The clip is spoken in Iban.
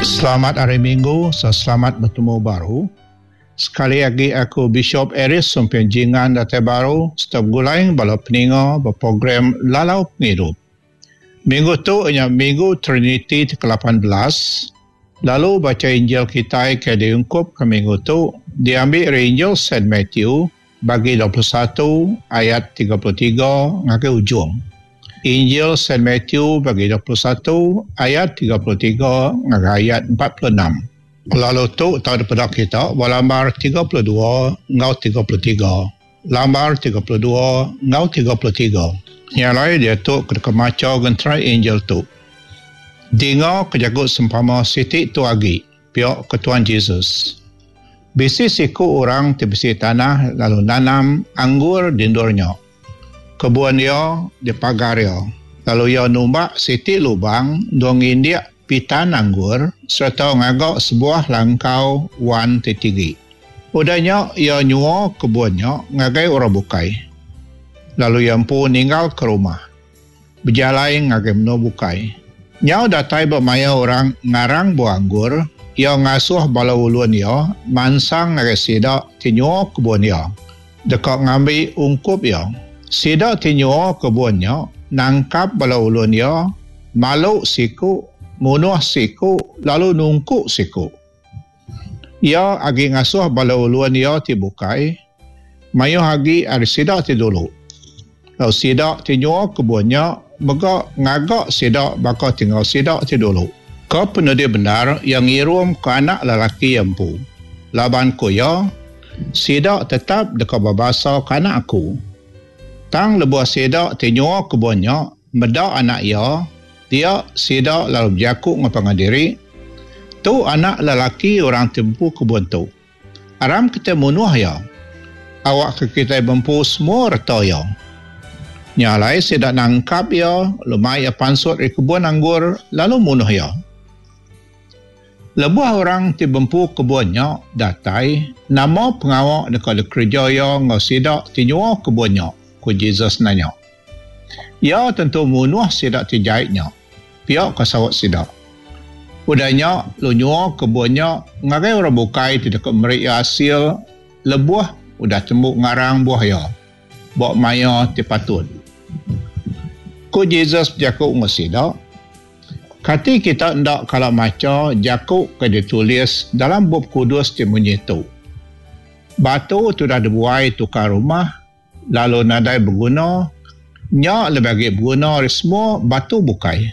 Selamat Hari Minggu serta selamat betemu baru. Sekali agi aku Bishop Aries Sumping Jingan datai baru serta begulai enggau bala peninga ba program Lalau Pengidup. Minggu tu iya nya Minggu Triniti ti ke 18 lalu bacha Injil kitai ke diungkupka minggu tu diambi ari Injil Saint Matthew bagi 21 ayat 33 ngagai ujung. Injil Saint Matthew bagi 21 ayat 33 ngagai ayat 46. Lalu tu tau dipeda kita ba lambar 32 enggau 33. Lambar 32 enggau 33. Nya alai diatu ke deka macha genterai Injil tu. Dinga ke jaku sempama siti tu agi, pia ke Tuan Jesus. Bisi siku orang ti bisi tanah lalu nanam anggur di endur nya. Kebun iya dipagar iya, lalu iya numbak siti lubang endur ngindik pitan anggur sereta ngaga sebuah langkau wan ti tinggi. Udah nya iya nyua kebun nya ngagai orang bukai, lalu iya empu ninggalka rumah, bejalai ngagai menua bukai. Nyau datai ba maya orang ngarang buah anggur, iya ngasuh bala ulun iya mansang ngagai sida ti nyua kebun iya, deka ngambi ungkup iya. Sida ti nyua kebun nya nangkap bala ulun iya, malu siku, munuh siku lalu nungku siku. Iya agi ngasuh bala ulun iya ti bukai mayuh agi ari sida ti dulu. Lalu sida ti nyua kebun nya mega ngaga sida baka ti enggau sida ti dulu. Ke penudi bendar iya ngirumka anak lelaki iya empu, laban ku iya, Sida tetap deka bebasaka anak aku. Tang lebuh sida ti nyua kebun nya meda anak iya, dia sida lalu bejaku enggau pangan diri, Tu anak lelaki orang ti bempu kebun tu. Aram kitai munuh iya. Awakka kitai bempu semua reta iya. Nya alai sida nangkap iya lalu mai iya pansut ari kebun anggur lalu munuh iya. Lebuh orang ti bempu kebun nya datai, nama pengawa deka dikereja iya enggau sida ti nyua kebun nya? ku Jesus nanya. Iya tentu munuh sida ti jai nya, pia ka saut sida. Udah nya, lu nyua kebun nya ngagai orang bukai ti deka meri iya asil lebuh udah tembu ngarang buah iya ba maya ti patut. Ku Jesus bejaku enggau sida, Kati kita enda kala macha jaku ke ditulis dalam Bup Kudus ti munyi tu, Batu ti udah dibuai tukang rumah, lalu nadai beguna, nya lebih agi beguna ari semua batu bukai.